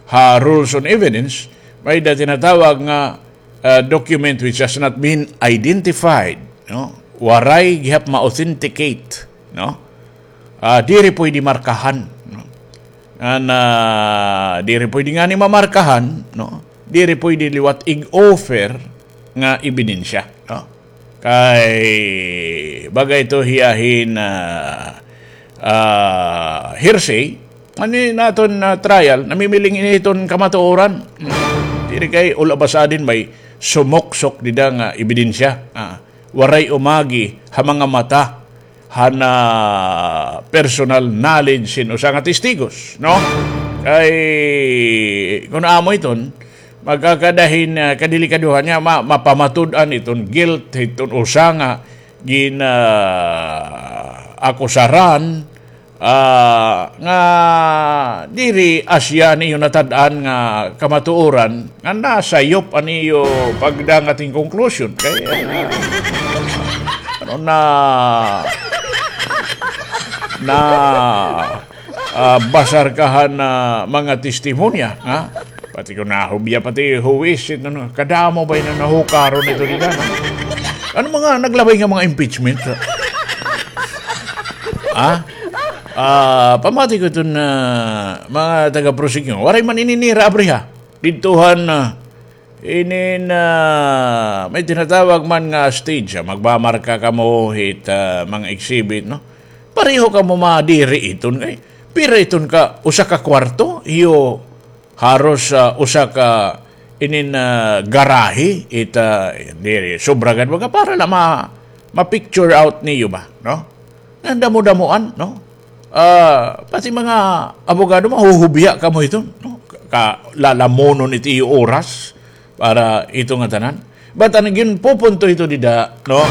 Ha rules on evidence, may da tinatawag nga, ah, document which has not been identified, no? Waray gihap ma-authenticate, no? Ah, diri pwede markahan, no? An, ah, diri pwede ngani mamarkahan, no? Diri pwede liwat ig-offer nga ebidensya, no? Kay baga ito hiya hin, ah, ah, hearsay, ani naton, ah, trial, namimiling ini iton kamatuoran. Diri kay ula basta din may sumuksok dida nga ebidensya. Ah, waray umagi ha mga mata han, ah, personal knowledge hin usa nga testigos, no? Kay kun amo iton, magkakada hin, ah, kadelikadohan niya, ma-, mapamatud-an iton guilt hiton usa nga gin-, ah, akusaran, ah, nga diri asya niyo natad-an nga kamatuoran nga nasayop an iyo pagdangat hin conclusion. Kay, ah, ano na, na, ah, basar ka han, ah, mga testimonya, ha? Pati kon nahubya, pati huwis, ito na, kadamo ba ini nahukaron ito dida, no? Ano mga naglabay nga mga impeachment? Ha? Ah, pamati ko iton, ah, mga taga-prosecution. Waray man ini nira abriha. Didto han, ah, inin, ah, may tinatawag man nga stage, ah, magmamarka kamo hit, ah, mga exhibit, no? Pareho kamo madiri iton kay pira iton ka, usa ka kwarto, iyo haros, ah, usa ka inin, ah, garahe, it, ah, diri, sobra gad baga para la ma-, ma-picture out niyo ba, no? Nga damo-damoan, no? Ah, pati mga abogado, mahuhubya kamo ito, no? Ka-, lalamonon it iyo oras para ito nga tanan. But an ginpupunto ito dida, no?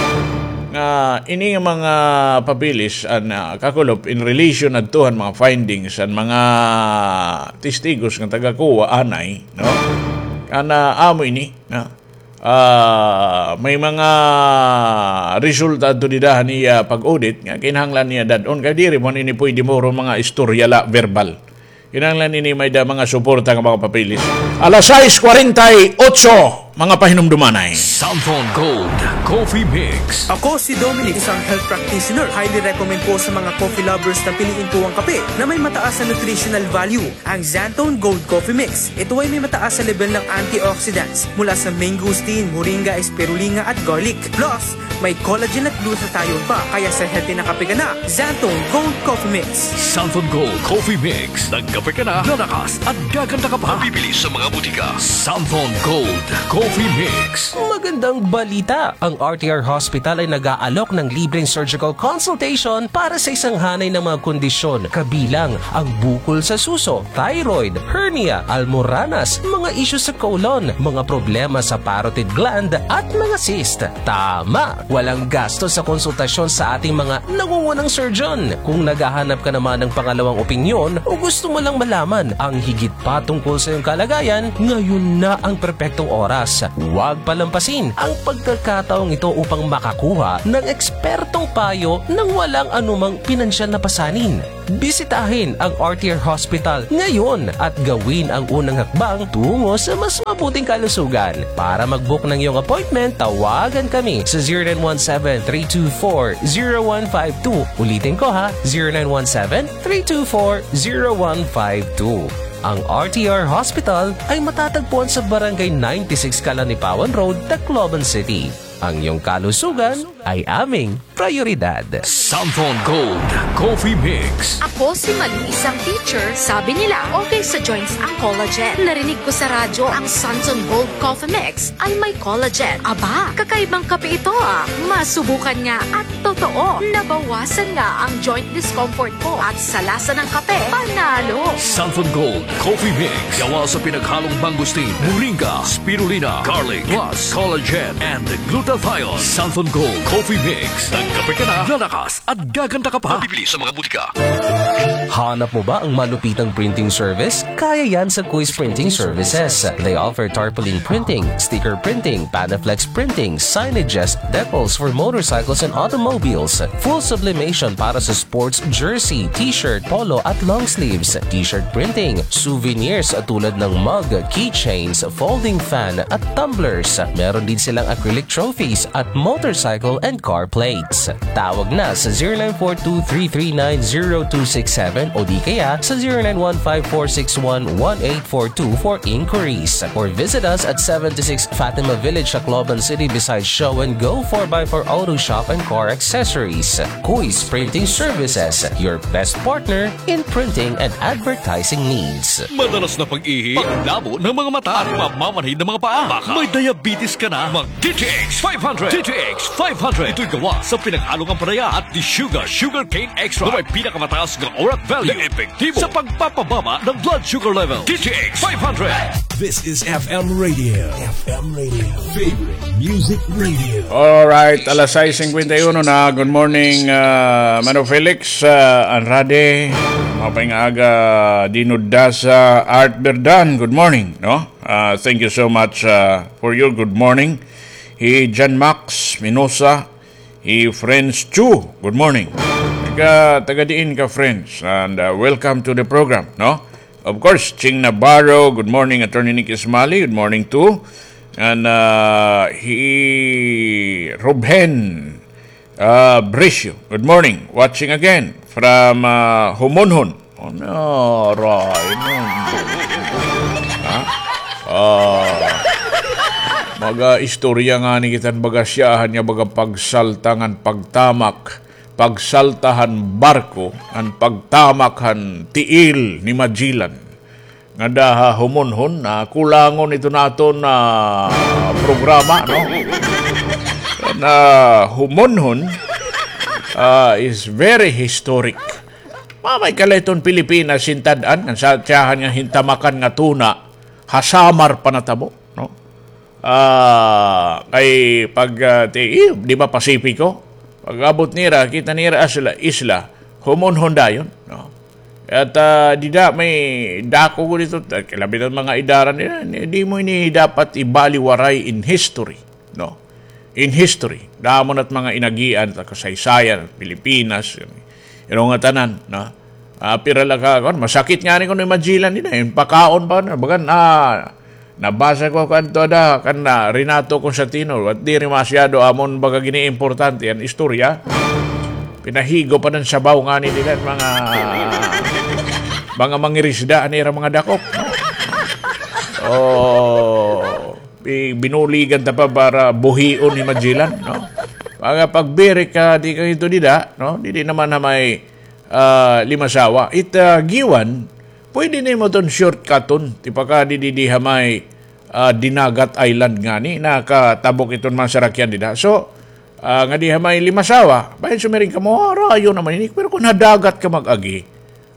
Nga ini nga mga papeles an, ah, kakulop in relation adto han mga findings an mga testigos nga taga-COA anay, no? An, ah, amo ini, no? Ah, may mga resulta adto dida han iya pag-audit nga kinahanglan niya dad-on kay diri man ini pwede moro mga istorya la, verbal. Kinahanglan ini may da mga suporta nga mga papeles. Alas sais kwarenta y otso, mga pahinumdumanay. Samson Gold Coffee Mix. Ako si Dominic, isang health practitioner. Highly recommend po sa mga coffee lovers na piliin po ang kape na may mataas na nutritional value, ang Xanthone Gold Coffee Mix. Ito ay may mataas na level ng antioxidants mula sa mangosteen, moringa, spirulina at garlic. Plus, may collagen at glutathione pa, kaya sa healthy na kape ka na, Xanthone Gold Coffee Mix. Samson Gold Coffee Mix. Nagkape ka na, lalakas at gaganda ka pa. Mabibili sa mga butika. Samson Gold Coffee Mix. Magandang balita! Ang R T R Hospital ay nag-aalok ng libreng surgical consultation para sa isang hanay ng mga kondisyon, kabilang ang bukol sa suso, thyroid, hernia, almoranas, mga isyu sa colon, mga problema sa parotid gland, at mga cyst. Tama! Walang gasto sa konsultasyon sa ating mga nangungunang surgeon. Kung naghahanap ka naman ng pangalawang opinyon o gusto mo lang malaman ang higit pa tungkol sa iyong kalagayan, ngayon na ang perpektong oras. Huwag palampasin ang pagkakataong ito upang makakuha ng ekspertong payo nang walang anumang pinansyal na pasanin. Bisitahin ang R T R Hospital ngayon at gawin ang unang hakbang tungo sa mas mabuting kalusugan. Para mag-book ng iyong appointment, tawagan kami sa zero nine one seven, three two four, zero one five two. Ulitin ko ha, zero nine one seven, three two four, zero one five two. Ang R T R Hospital ay matatagpuan sa Barangay ninety-six Calanipawan Road, Tacloban City. Ang iyong kalusugan ay aming prayoridad. Santhon Gold Coffee Mix. Ako si Malu, isang teacher. Sabi nila, okay sa joints ang collagen. Narinig ko sa radyo ang Santhon Gold Coffee Mix ay may collagen. Aba, kakaibang kape ito ah. Masubukan nga at totoo, nabawasan nga ang joint discomfort ko at sa lasa ng kape, panalo. Santhon Gold Coffee Mix. Gawa sa pinaghalong mangosteen, moringa, spirulina, garlic, plus collagen and glutathione. Santhon Gold Coffee Mix. Nagkape ka na, lalakas at gaganda ka pa. Mabibili sa mga butika. Hanap mo ba ang malupitang printing service? Kaya yan sa Kuis Printing Services. They offer tarpaulin printing, sticker printing, Panaflex printing, signages, decals for motorcycles and automobiles, full sublimation para sa sports jersey, t-shirt, polo at long sleeves, t-shirt printing, souvenirs tulad ng mug, keychains, folding fan at tumblers. Meron din silang acrylic trophies at motorcycle and car plates. Tawag na sa zero nine four two three three nine zero two six seven o di kaya sa zero nine one five four six one one eight four two for inquiries. Or visit us at seventy-six Fatima Village, Tacloban City, beside Show and Go four by four Auto Shop and Car Accessories. Kuis Printing Services, your best partner in printing and advertising needs. Madalas na pag-ihi, paglabo ng mga mata, at mamamanhid ng mga paa. Baka may diabetes ka na, mag D T X five hundred. D T X five hundred. Ito'y gawa sa pinaghalong ampalaya at desugar, sugarcane extract, na may pinakamataas na orat value na epektibo sa pagpapababa ng blood sugar level. D T X five hundred. This is F M Radio. F M Radio. Favorite Music Radio. Alright, alas sais singkwenta y uno na. Good morning, ah, Mano Felix, ah, Anrade. Mapay nga aga, Dinudasa, Art Berdan. Good morning, no? Ah, thank you so much, ah, for your good morning. Hi John Max Minosa, hi Friends Chu. Good morning. Taga, taga diin ka, Friends? And, ah, welcome to the program, no? Of course, Ching Navarro, good morning. Attorney Nick Ismali, good morning too. And, ah, hi Ruben, ah, Bricio, good morning. Watching again from, ah, Humunhun. Oh, no, right. Ha? Ah, mag-istorya ngani kita hin baga siyahan nga baga pagsalta ngan pagtamak, pagsalta han barko, ngan pagtamak han tiil ni Magellan. Ngada ha Humunhun, ah, kulangon ito naton, ah, programa, no? Na Humunhun, ah, is very historic. Mamay ka la iton Pilipinas hin tad-an, ngan sa tiyahan nga hintamakan nga tuna, ha Samar pa natabo, no? Ah, kay pag, ah, ti-, eh, di ba Pasipiko? Pag-abot nira, kita nira isla, isla, Humunhun dayon, no? At, ah, dida may dako gud ito, ta-, labi na mga idaran nira, ni-, di mo ini dapat ibaliwaray in history, no? In history, damo na't mga inagian, ta kasaysayan, Pilipinas, iro nga tanan, no? Ah, pira la ka, kuan, masakit ngani kuno hi Magellan dida, in pakaon pa, no? Bagan, ah, nabasa ko kanto ada, kan, ah, Renato Constantino, at diri masyado amon baga gini-importante an istorya. Pinahigop an sabaw ngani dida, mga, mga mangirisda, an ira mga dakop, no? Oh, bi-, binuligan ta pa para buhion hi Magellan, no? Mga pagbirik ka, di ka ito dida, no? Didi naman ha may, ah, Limasawa. It, ah, Guiuan, pwede nimo ton shortcuton, ti paka didi, di ha may, ah, Dinagat Island ngani, nakatabok iton mga sarakyan dida. So, ah, ngadi ha may Limasawa, bahin sumiring kamo, ah, rayo naman ini, pero kon ha dagat ka mag-agi,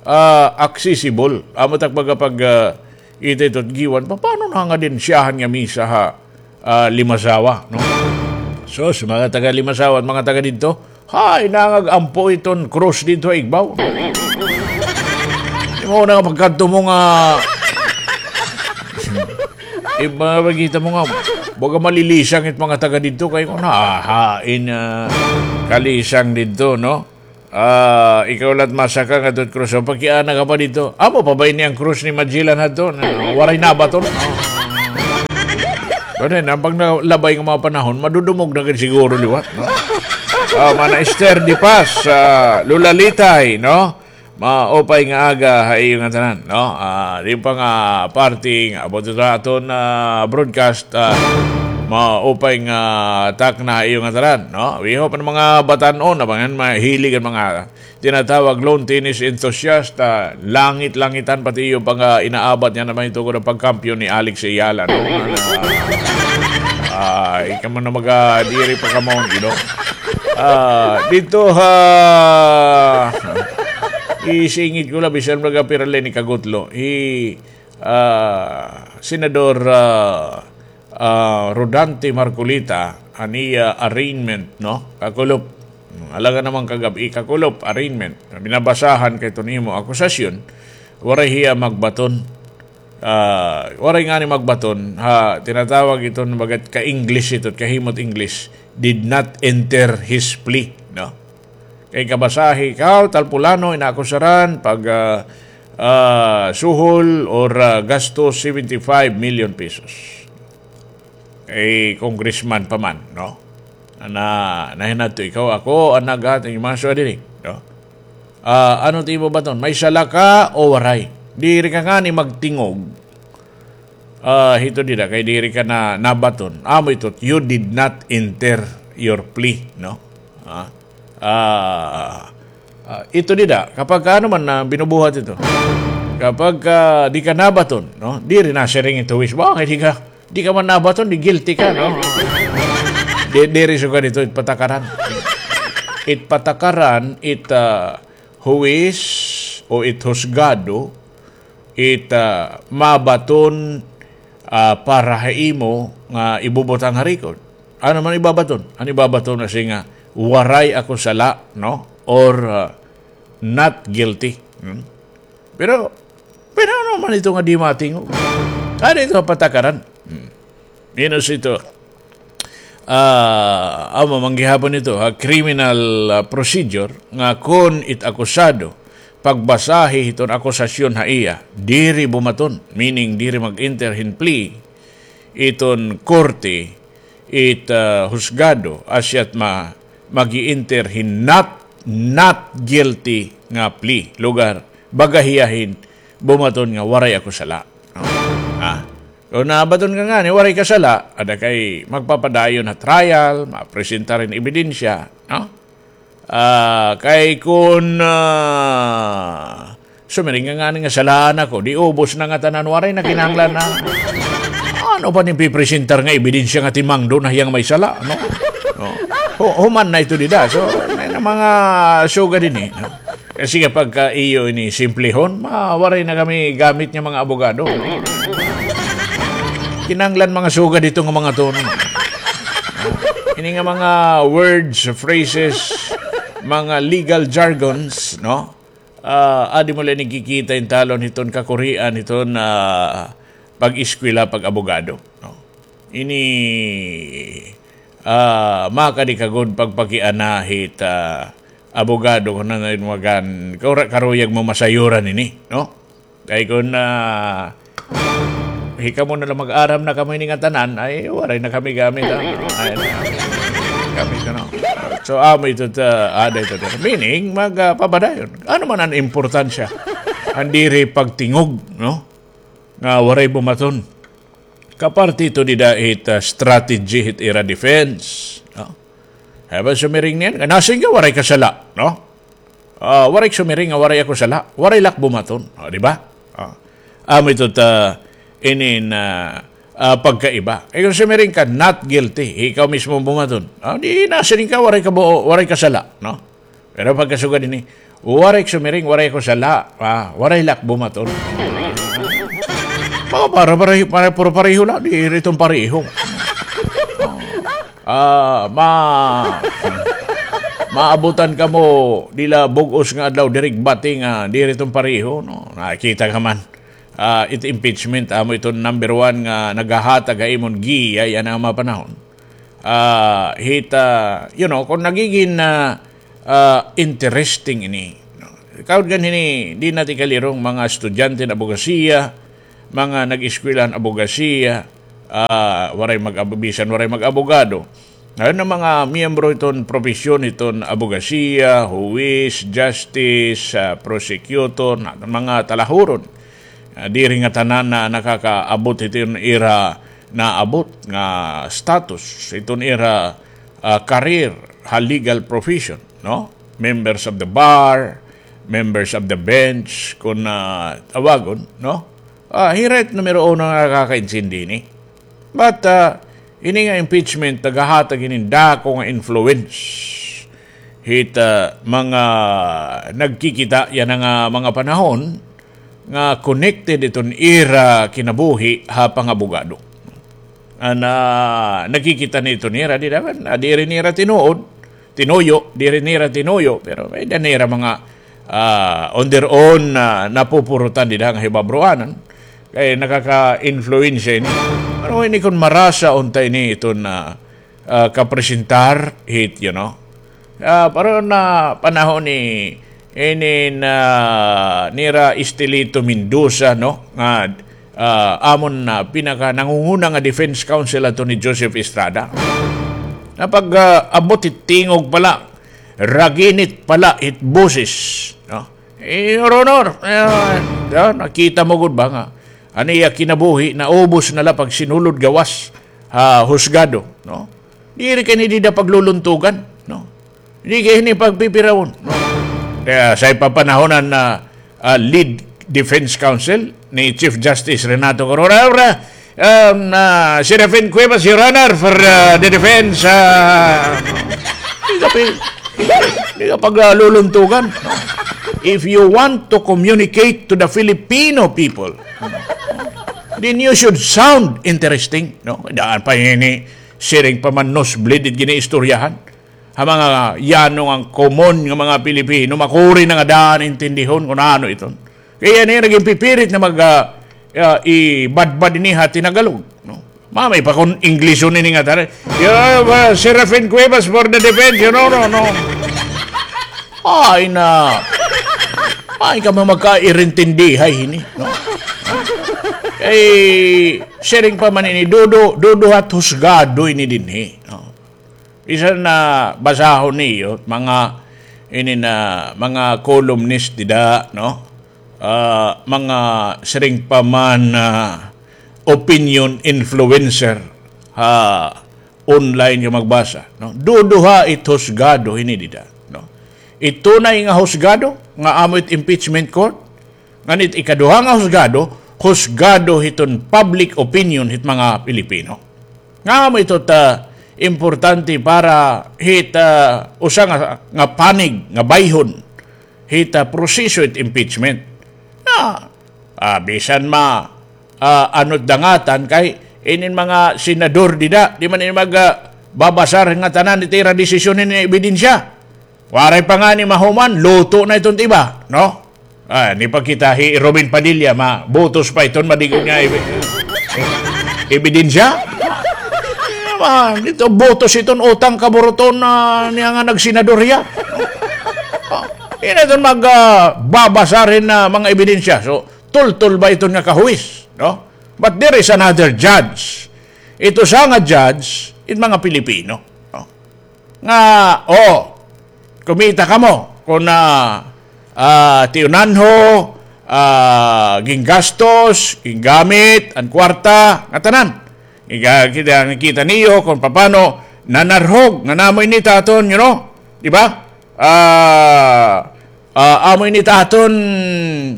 ah, accessible. Amo tak baga pag, ah, ita ito Guiuan, paano na nga din siyahan nga misa ha, ah, Limasawa, no? Sus, mga taga Limasawa at mga taga didto, hay, nangag-ampo iton krus didto ha igbaw. Imo na nga pagkadto mo nga, eh, mga pagkita mo nga, baga malilisang it mga taga didto, kay kung nahahain, ah, kalisang didto, no? Ah, ikaw la't masaka nga dot krus. O, pakiana ka pa didto. Amo pa ba ini an krus ni Magellan hadto? Na, waray nabaton. Pero na, pag nalabay nga mga panahon, madudumog na gid siguro liwat, no? Ah, Mana Esther Di Paz, ah, Lola Litay, no? Maupay nga aga ha iyo ngatanan, no? Ah, di pa nga parte nga abot ito aton, ah, broadcast, ah, maupay nga takna ha iyo ngatanan, no? We hope an mga batan-on, na mga mahilig an mga tinatawag lawn tennis enthusiast, ah, langit-langitan pati iyo pa nga inaabat niyan naman ito ko pagkampiyon ni Alex Ayala, no? Ah, ikaw man na maga-, diri pa ka maon, you know? Ah, dito ha, isingit ko la, bisan magapirali ni Kagutlo. Hi, ah, Senador, ah, ah, Rodante Marcoleta, an iya arraignment, no? Kakulop. Alaga naman kagab-i, kakulop, arraignment. Binabasahan kay iton imo akusasyon, waray hiya magbaton. Ah, waray ngani magbaton, ha, tinatawag iton bagat ka-English ito, kahimot English, did not enter his plea, no? Kay kabasahi ka, tal pulano, inaakusaran pag, ah, ah, suhol or, ah, gasto seventy-five million pesos. Eh, congressman pa man, no? Na, nahinadto ikaw, ako, an naghat, an mga suwa diri, no? Ah, ano ti imo baton? May sala ka o waray? Diri ka ngani magtingog. Ah, hito dida, kay diri ka na nabaton. Amo ito, you did not enter your plea, no? Ah, ah, ah, ito dida, kapag ka ano man na binubuhat ito, kapag ka di ka nabaton, no? Diri na siring ito, wis, bakit di ka, di ka man nabaton, di guilty ka, no? Di, diri suga dito, it patakaran. It patakaran, it, ah, huwis o it husgado, it, ah, mabaton, ah, para ha imo nga ibubutang ha record. Ano man ibabaton? Ano ibabaton na siya nga, "Waray ako sala," no? Or, ah, "Not guilty." Hmm? Pero, pero ano man ito nga di matingog? Ano ito ang patakaran? Hmm. Minus ito. Ah, amo man gihapon ito, ha, criminal, ah, procedure nga kon it akusado, pagbasahi hiton akusasyon ha iya, diri bumaton, meaning diri mag-enter hin plea, iton korte, it, ah, husgado, asya't ma-, mag-i-enter hin not, not guilty nga plea. Lugar, baga hiya hin bumaton nga waray ako sala. Ah. Kon nabaton ka ngani, waray ka sala, ada kay magpapadayon ha trial, mapresentar hin ebidensya, no? Ah, kay kon, ah, sumiring ka ngani nga salaan ako, di ubos na ngatanan, waray na kinahanglan na. Ano pa nim pipresentar nga ebidensya nga timangdo na hiyang may sala, no? No? Hu-, human na ito dida. So, may na mga sugad ini, no? Kasi kapag ka iyo ini simplihon, ma-, waray na kami gamit nga mga abogado. Kinahanglan mga sugad ito nga mga tono. Ini nga mga words, phrases, mga legal jargons, no? Ah, adi mo la ini kikita hin talon hiton kakurian hiton, ah, pag-eskwela, pag-abogado, no? Ini, ah, makadi ka gud pagpakiana hit, ah, abogado kon ano it magan-, kara-, karuyag mo masayuran ini, no? Kay kon, ah, hikamo na la mag-aram na kamo ini ngatanan, ay, waray na kami gamit, ah. Ay, kami ito, no? So, amo ito, ah, ada ito, meaning, mag, ah, papadayon. Ano man an importansya? An diri pagtingog, no? Nga waray bumaton. Kaparte ito dida hit, ah, strategy hit ira defense, no? Hay ba sumiring niyan, nga nasiring ka waray ka sala, no? Ah, waray sumiring nga waray ako sala, waray la ak bumaton, o, di ba? Ah. Amo ito ta inin, ah, ah, pagkaiba. Kay kon sumiring ka, not guilty, ikaw mismo bumaton. Ah, di nasiring ka, waray ka bu-, waray ka sala, no? Pero pagkasugad ini, waray sumiring, waray ako sala, ah, waray la ak bumaton. Mga para, para, para, puro pareho la, diri iton pareho. Ah, ma-, maabutan kamo dida bug-os nga adlaw, diri bati nga diri iton pareho, no? Nakita ka man. Ah, it impeachment, amo iton number one nga naghahatag ha imon giyay yana nga mga panahon. Ah, hit, ah, you know, kon nagigin, ah, ah, interesting ini, no? Kaud kan hini, di natin kalirong mga estudyante hin abogasiya, mga nag-eskwela hin abogasiya, ah, waray mag-, bisan waray mag-abogado. Ayon na mga miyembro iton propesyon, iton abogasiya, huwis, justice, ah, prosecutor, na mga talahuron. Ah, diri nga tanan na nakakaabot iton ira naabot nga status, iton ira, ah, career ha legal profession, no? Members of the bar, members of the bench, kun, ah, tawagon, no? Ah, hira it numero uno nga nakakaintindi ini. But, ah, ini nga impeachment, nagahatag ini dako nga influence hit, ah, mga nagkikita yana nga mga panahon nga connected iton ira kinabuhi ha pangabogado. Ana, nakikita ni iton ira, di naman, ah, diri nira tinuod, tinuyo, diri nira tinuyo, pero may da nira mga, ah, on their own, ah, napupurutan dida nga hibabroanan. Kay nakaka-influensya ini. Ano ini kun marasa unta ini iton, ah, ah, kapresentar hit, you know. Ah, pero na panahon ni, ini na nira Estelito Mendoza, no? Nga, ah, amon na pinaka nangunguna nga defense counsel ato ni Joseph Estrada. Na pag, ah, abot it tingog pala, raginit pala it boses, no? Eh, Your Honor, eh, ah, nakita mo gud ba nga an iya kinabuhi naubos na la pag sinulod gawas ha husgado, no? Diri kay ni dida pagluluntugan, no? Di kay ni pagpipirawon, no? Kaya sa ipapanahonan na, ah, lead defense counsel ni Chief Justice Renato Corona, um, ah, Serafin Cuevas, Your Honor, for, ah, the defense, ah, di ka pi-, di ka pagluluntugan, no? If you want to communicate to the Filipino people, then you should sound interesting, no? Daan pa ini, siring pa man nosebleed it giniistoryahan. Ha mga yano nga common nga mga Pilipino, makuri na nga daan intindihon kun ano iton. Kaya niya naging pipirit na mag, ah, ah, ibadbad ini ha Tinagalog, no? Mamay pa kun Englishon ini nga tari. Yeah, uh, Serafin Cuevas for the defense, you know, no, no. Ay na. Ay ka magkairintindihay ini, no? Kay siring pa man ini, dudu, duduha it husgado ini dinhi, no? Bisan na basahon niyo, mga, ini na, mga columnist dida, no? Ah, mga siring pa man, ah, opinion influencer ha online nga magbasa, no? Duduha it husgado hini dida, no? It tunay nga husgado nga amo it impeachment court, ngan it ikaduha nga husgado, husgado hiton public opinion hit mga Pilipino. Nga amo ito ta importante para hit, ah, usa nga, nga panig, nga bayhon hit, ah, proseso hit impeachment. Na, ah, bisan ma, ah, ano't dangatan kay inin mga senador dida, di man ini mag, ah, babasar nga tanan it ira desisyon ini ebidensya. Waray pa ngani mahuman, luto na iton iba, no? Ah, ni pa kita hi Robin Padilla, mabutos pa iton madig-on nga ebi-, ebidensya. Ah, dito, butos iton utang kaburuton na niya nga nagsenador hiya. Ah, ini iton mag, ah, babasar hin, ah, mga ebidensya. So, tultol ba iton nga kahuwis, no? But there is another judge. Ito sa nga judge, it mga Pilipino, no? Nga, oh, kumita kamo kun, ah, ah, tiunanho, ah, ginggastos, ginggamit an kwarta, ngatanan. Iga-, kita, nakita niyo kun papano nanarhog, nga namo ini it aton, you know? Di ba? Ah, ah, amo ini it aton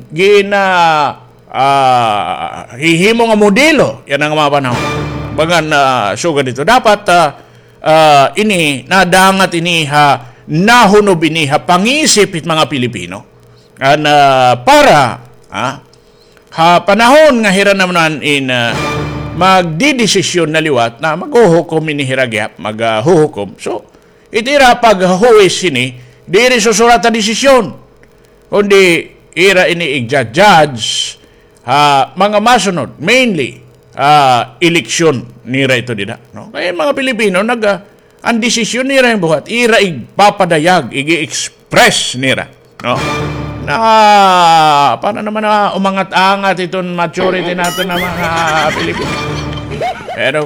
gina-, ah, hihimo nga modelo yana nga mga panahon. Bagan, ah, sugad ito. Dapat, ah, ah, ini, nadangat ini ha, nahunob ini ha pangisip hit mga Pilipino. An, ah, para, ah, ha panahon nga hira naman in, ah, magdidesisyon na liwat na maghuhukom ini hira gihap, mag, ah, huhukom. So, it ira paghuwis ini, diri susurat ha desisyon. Kundi ira ini igja-judge ha mga masunod, mainly, ah, eleksyon nira ito dida, no? Kay mga Pilipino, nag, ah, an desisyon nira nga buhat, ira igpapadayag, ig-express nira, no? Na, para naman na umangat-angat iton maturity naton nga mga Pilipino. Pero